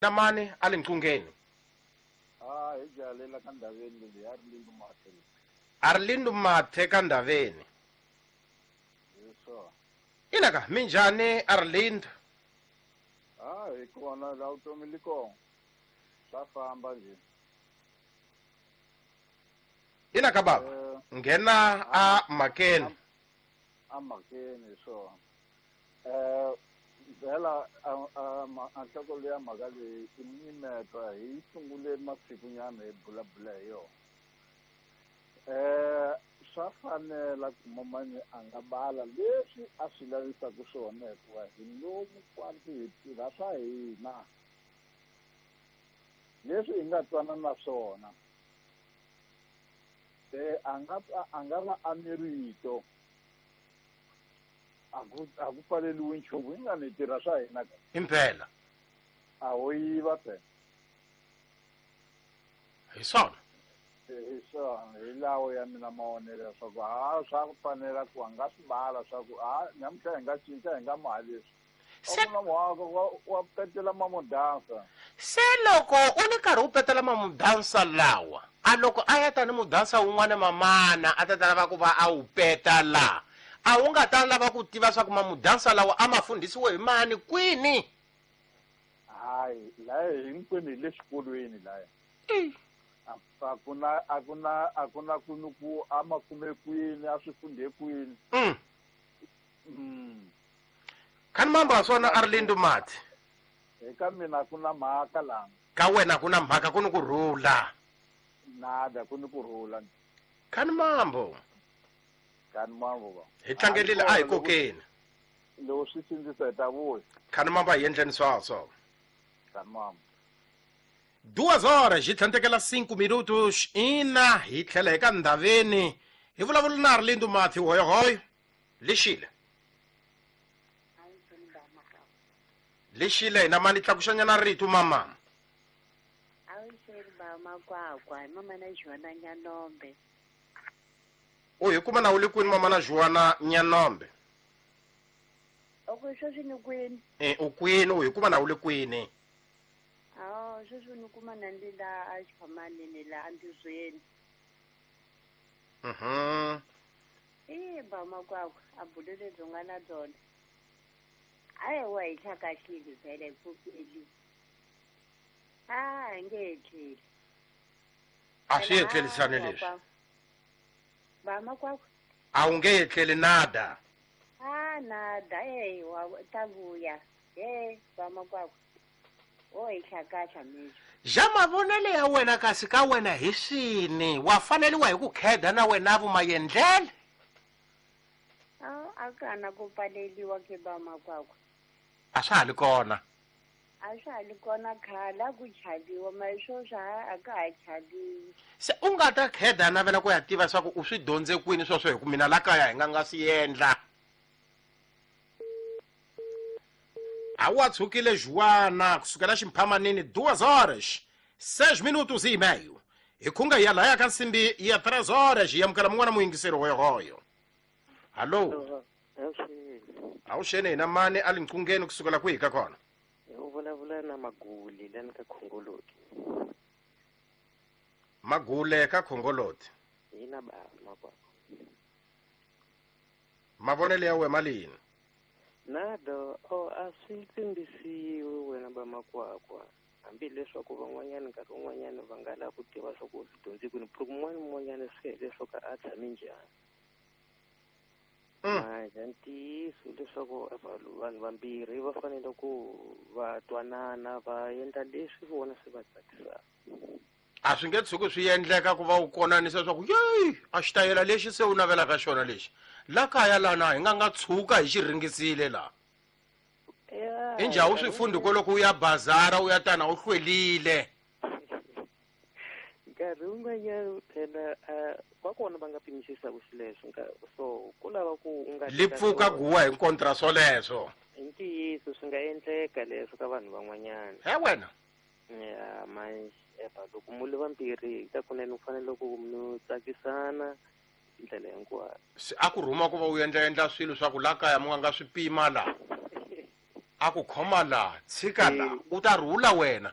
Na mani a le nqungeni? A hi jalela ka ndhaveni leyi a ri lindu mathe. A ri lindu mathe ka ndhaveni. Hi swona. Inaka minjhani a ri lindu? A hi kona la vutomi li kona. Swa famba nje. Inaka baba. Nghena a mhakeni. A mhakeni hi swona. Vhela a nhloko leya mhaka leyi i mimetwa hi sungule masikunyana hi bulabula hi yona. Swa fanela ku mamani a nga bala leswi a swi lavisaka swona hikuva hi lomu kwanti hi tirha swa hina leswi hi nga twana na swona. Se a nga va a ni rito. A ku pfaleliwi nchumu hi nga ni tirha swa hina ka. Impela. A ho yiva phela. Hi swona. Hi swona hi lawo ya mina mavonelo ya swa ku ha swa ku fanela ku a nga swi bala swa ku ha namuntlha hi nga cinca hi nga maha leswi. Se wa petela mamudansa. Se loko u ni karhi u petela mamudansa lawa, a loko a ya tani mudansa wun'wana mamana a ta ta lava ku va a wu peta la, a wu nga ta lava ku tiva swa ku mamudansa lawa a ma fundhisiwe hi mani kwini? Hayi, laya hinkwenu hi le xikolweni laya. A ku na ku a ma kume kwini, a swi fundhe kwini. Khani mamba swona a ri lindu mati. Eka mina ku na mhaka la. Ka wena ku na mhaka ku ni ku rhula. Nada ku ni ku rhula. Khani mambo. Khani mambo ba. Hi tlangelile a hi kokeni. Loko swi sindzisa hi ta vuya. Khani mambo a hi endleni swaswo. Khani mambo. 2 horas hi tlhandlekela 5 minutos ina hi tlhela hi ka ndhaveni hi vulavula na Arlindo Matthew hoyohoyo lexile. Lexile hina mani tlakuxanyana rito mama. Awuxeni ba makwakwa hi mama na Joana Nyanombe. U hi kuma na u le kwini mama na Joana Nyanombe? Oko sweswi ni kwini? U kwini u hi kuma na u le kwini? Awu sweswi ni kuma na ndi la a xiphamanini la andizweni. Ba makwakwa a bulo lebyi nga na byona. Hayi wa hi hlakahlile vhele hi pfukeli. A nge etleli. A swi etlelisani leswi. Ba makwakwa. A wu nge etleli nada. A nada wa ta vuya. Ba makwakwa. O hi hlakahla mixo. Ja mavonelo ya wena kasi ka wena hi swini wa faneliwa hi ku kheda na wena vumayendlele. A kana ku pfaleliwa ke ba makwakwa. A swa ha li kona. A swa ha li kona khale a ku chaviwa ma sweswi a ka ha chaviwi. Se u nga ta kheda navela ku ya tiva swa ku u swi dyondze kwini sweswo hi ku mina la kaya hi nga nga swi endla. A wa tshukile Joana kusukela ximphamanini 2 horas 6 minutos e meio. Hi khunga ya laya ka nsimbi ya 3 horas hi amukela mun'wana muyingiseri hoyohoyo. Hallo. Awuxeni hina mani a le nqungeni kusukela kwihi ka kona? U vulavula na Magule lani ka Khongoloti. Magule ka Khongoloti. Hina ba makwakwa. Mavonelo ya wena malini? Nado a swi tsimbisiwi wena ba makwakwa. Hambileswaku van'wanyana nkarhi wun'wanyana va nga lava ku tiva swa ku swi dyondze kwini, ku un'wana swi hileswaku a tshame njhani. Manje ntiyiso leswaku vanhu vambirhi va fanele ku va twanana va endla leswi vona swi va tsakisaka. A swi nge tshuki swi endleka ku va u konanisa leswaku yeyi a xitayela lexi se u navelaka xona lexi la kaya lana hi nga nga tshuka hi xi ringisile la. Injhawu swi fundhi loko u ya bazara u ya tana u hlwelile. Nkarhi wun'wanyana phela va kona va nga pimisisaka xileswo so ku lava ku u nga li pfuka guwa hi kontra swoleswo. I ntiyiso swi nga endleka leswo ka vanhu van'wanyana. He wena. Ya manje loko mu le vambirhi ka kunene u fanele ku mi tsakisana ndlela hinkwayo. Se a ku rhuma ku va u endla swilo swa ku la kaya mu nga nga swi pima la. A ku khoma laha, tshika laha, u ta rhula wena.